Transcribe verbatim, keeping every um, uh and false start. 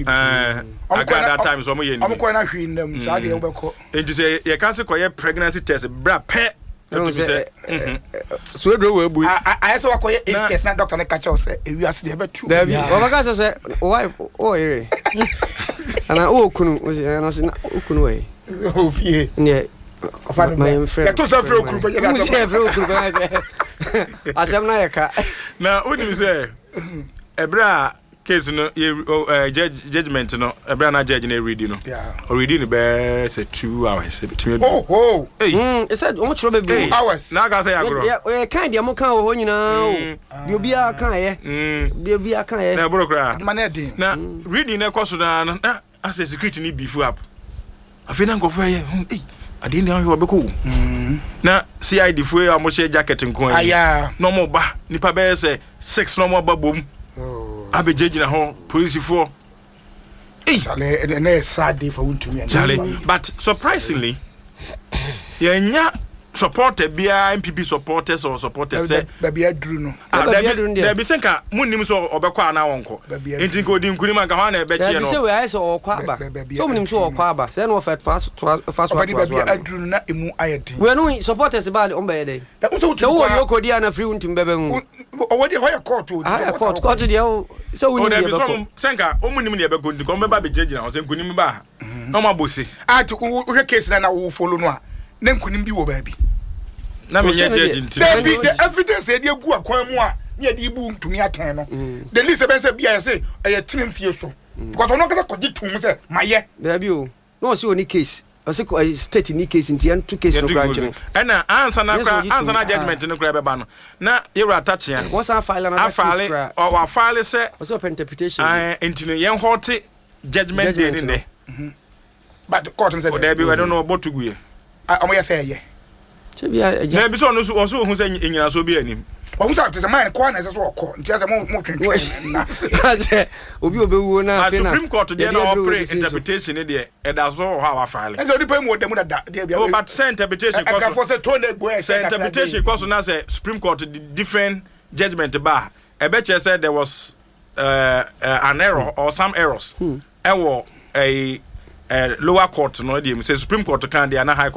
ni bi. Ɛɛ Ɔmo kɔ na- Agrada times ɔmo yɛ ɔmo ni kɔ na hwee nnam saa deɛ, wobɛkɔ. Nti sɛ yɛka sɛ kɔyɛ pregnancy test bra pɛ, Ɛhu ɛtumi sɛ, sɛ mhm. So eduro wɔ ebu. A- a- ayɛ sɛ wakɔyɛ AIDS Na- test na doctor ne ka kyerɛ wo sɛ ewiase deɛ ɛbɛtu. Dabi, ɔbɛka sɛ sɛ o wife o yere ana o kunu o sɛ ɛna sɛ na o kunu wɔ yi. Ofie. Neɛ Ɔfa no ma bra. yɛn frɛ. Yɛto sɛ frɛ okunu pɛ, yɛ mu sɛ frɛ okunu pɛ sɛ asɛm na yɛ ka. Na wonim sɛ ɛberɛ a case no yɛ ɔ, ɛ, judge judgement no, ɛberɛ a na judge no ɛredi no, Yeah. ɔredi no bɛɛ sɛ two hours ɛbɛtumi adu. Oho. Ei, Mm, ɛsɛ ɔmo kyerɛ bebree. Ei, Hours. Na aka sɛ yɛ agorɔ. Yɛ yɛ kan deɛ mo kan wɔ hɔ nyinaa o, deɛ obiara kan yɛ, Mm, deɛ obiara kan yɛ. Na ɛboro koraa. Adwuma no ɛden. Na reading no ɛkɔ so naa no, na asɛ security ni beef up. Afei na nkɔfoɔ yɛ hmm, ei, adeɛ ni ahwɛ ɔbɛkɔ o, na C I D foɔ yi a wɔhyɛ jacket nko ara yi Aya. na ɔmo ba nipa bɛyɛ sɛ six na ɔmo aba bom abɛgyinagyina hɔ, polisifoɔ. Ei. Charlie, ɛnɛ ɛnɛ yɛ sad day for Wontumi ɛnɛ. Charlie, but surprisingly yɛnya supporter biara, N P P supporters or supporters sɛ Baabi aduru no. Ah, Baabi dabi aduru no deɛ. Dabi, sɛ nka munnim sɛ ɔbɛkɔ anaa wɔnkɔ. Baabi aduru. Nti nka odi nkunim anka hɔ ana ɛbɛkyeɛ Dabi, no. sɛ wei ayɛ sɛ ɔkɔ aba. Bɛ- baabi Sɛ ɔmo nim sɛ ɔkɔ aba sɛ ɛna ɔfɛ fa so toa fa so Ɔbɛde atoa so baabi ano. aduru no na emu ayɛ den. Wei no supporters ba ɔmo bɛyɛ dɛ Na wo sɛ sɛ wotumi wowɔ kɔ a- yoko di ana firi wontumi bɛbɛ mu. wo- ɔwɔ deɛ hɔ yɛ court o. Ah, court court deɛ o sɛ O wonim dabi deɛ sɛ bɛkɔ. ɔmo sɛ nka ɔmo nim deɛ ɛbɛkɔ, nti ɔmo bɛba abɛgyinagyina hɔ sɛ nkunim ba a na ɔmo abɔ se. A ti wo wohwɛ case na na wo follow no a, na nkunim bi wɔ baabi. Na menyɛ Ɔhyɛ no judge deɛ. nti. Dabi, the evidence yɛde egu akwan mu a ne yɛde ibu ntumi atɛn no, the least ɛbɛn sɛ bia yɛ sɛ ɛyɛ tene mfie so because ɔno ankasa kɔgye tum sɛ mayɛ. Dabi o, na ɔsɛ oni case, ɔsɛ kɔ- ɛyi, state ni case nti yɛnto case no Yɛde kora gu nkyɛn. Ɛna ansa na Yes, kora ɔgye ansa na tum. Judgement no kora bɛba no, na yɛwura Atakyea wɔsan file another case afile kora. ɔ wafile sɛ ɔsɛ ɔpɛ interpretation. ɛɛ, nti no yɛn hɔte judgement day ne Judgement. Nnɛ. But court no sɛ Dabi, ɛno no ɔbɔ to gu yɛ. Ah, ɔmo yɛ sɛ ɛyɛ. Kyɛ bi a agya. Dabi, sɛ ɔno nso ɔso ohun sɛ enyinaso bi anim. Wɔn sɛ te sɛ man kɔ na ɛsɛ sɛ ɔkɔ, nti ɛsɛ mo mo twentwɛn na sɛ obi a obɛwuo na But afei na Supreme Court deɛ yɛde na aduru ɔpere wɔ sisi so. Interpretation ne deɛ ɛda so wɔ hɔ a wafile. Ɛsɛ onipa yi mu wɔ dɛm dada deɛ bi. Oh, but sɛ interpretation kɔ so ɛkafoɔ sɛ tone egbo ɛhyɛ. Sɛ interpretation kɔ so na sɛ Supreme Court di different judgement ba a, ɛbɛkyerɛ sɛ there was uh, uh, an error or some errors ɛwɔ ɛyi uh, lower court no deɛ mu sɛ Supreme Court kan deɛ ana High Court.